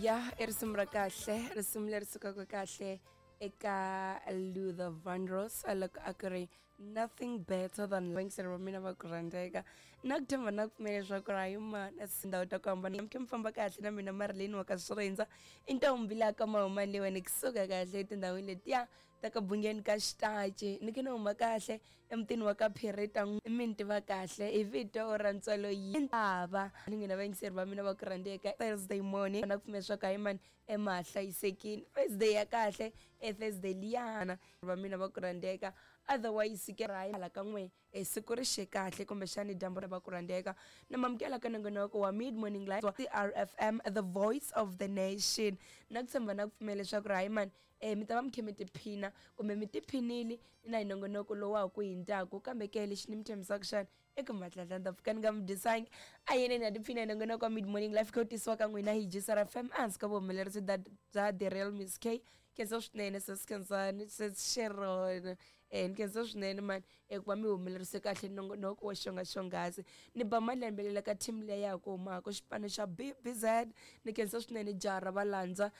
Ya i risimu ra kahle, risimu leri sukaka kahle eka Luther Vandross loko a ku ri "Nothing Better Than". Vayingiseri va mina va ku rhandzeka, na ku tshemba na ku pfumela leswaku ri hayi mana tindhawu ta ku hambana mi khe mi famba kahle na mina Marilyn wa ka Swirindza i ntombi laha ka mahumani leyiwani kusuka kahle etindhawini letiya ta ka Bungeni ka Xitaci, ni khe ni huma kahle emutini wa ka Phirita, mi ni tiva kahle hi vito ra ntswalo yi ava ni n'wina vayingiseri va mina va ku rhandzeka. Thursday morning, na ku pfumela leswaku hayi mani ema hlayisekini, Thursday ya kahle e Thursday liyana va mina va ku rhandzeka. Otherwise ke hala ka n'we e siku ri xe kahle kumbexani dyambu ra va ku rhandzeka na mamukela ka nongonoko wa Mid Morning Live, CRFM, the voice of the nation. Na ku tshemba na ku pfumela leswaku ri hayi mani mi ta va mi khe mi tiphina kumbe mi tiphinile na hi nongonoko lowu wa ha ku hindzaku, kambe ke lexi ni mi tshembisaka xana eka matlatla ni ta pfuka ni nga mi dyisangi a yeneni ha tiphina hi nongonoko wa Mid Morning Life kha wu tisiwa ka n'wina hi GCRFM ehansi ka vuhumelerisi bya The Real Miss K. Khensa swinene sis Khensani, sis Sharon, ni khensa swinene mani eku va mi humelerise kahle nongonoko wo xonga xonghasi. Ni ba malembelela ka team leyi ya ha ku humaka xipano xa BBZ, ni khensa swinene jaha ra valandza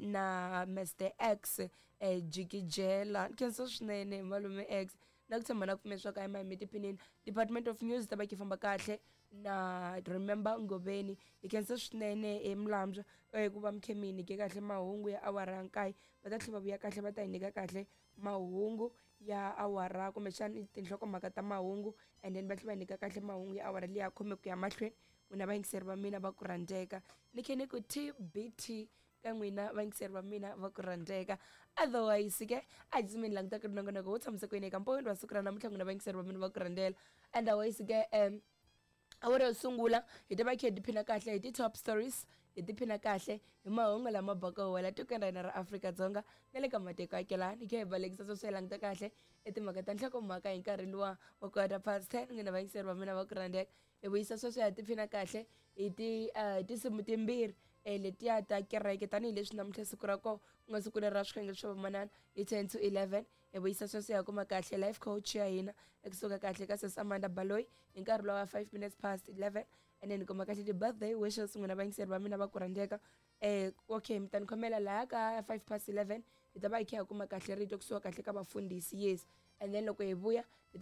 na Mr X Jikijela, ni khensa swinene malume X, na ku tshemba na ku pfumela leswaku a hi mi tiphinini. Department of News ta va ki famba kahle na Remember Ngoveni, hi khensa swinene emilambywa ku va mi khe mi hi nyike kahle mahungu ya awara ya 9. Va ta tlhela va vuya kahle va ta hi nyika kahle mahungu ya awara kumbexani tinhlokomhaka ta mahungu, and then va tlhela va hi nyika kahle mahungu ya awara liya 10 ku ya mahlweni. N'wina vayingiseri va mina va ku rhandzeka, ni khe ni ku TBT ka n'wina vayingiseri va mina va ku rhandzeka. Otherwise ke a hi tsutsumeni langutaka ri nongonoko wo tshamisa ku yini eka mpoweni wa siku ra namuntlha, n'wina vayingiseri va mina va ku rhandzela. Otherwise ke awara yo sungula hi ta va khe hi tiphina kahle hi ti-top stories, hi tiphina kahle hi mahungu lama baka wela tikweni ra hina ra Afrika-Dzonga na le ka matiko akelani. Hi khe hi balekisa sweswo hi languta kahle i timhaka ta nhlokomhaka hi nkarhi luwa wa 10:15. N'wina vayingiseri va mina va ku rhandzeka, hi vuyisa sweswo hi tiphina kahle hi ti hi tinsimu timbirhi letiya ta kereke, tanihileswi namuntlha siku ra kona ku nga siku leri ra swikhongelo swa vamanana hi 10 to 11. Hi vuyisa sweswo hi kuma kahle life coach ya hina ekusuka kahle ka sis Amanda Baloyi hi nkarhi lowa 11:05, and then hi kuma kahle ti-birthday wishes, n'wina vayingiseri va mina va ku rhandzeka. Okay, mi ta ni khomela laha ka 11:05 hi ta va hi kha hi kuma kahle rito kusuka kahle ka vafundhisi, yes, and then loko hi vuya hi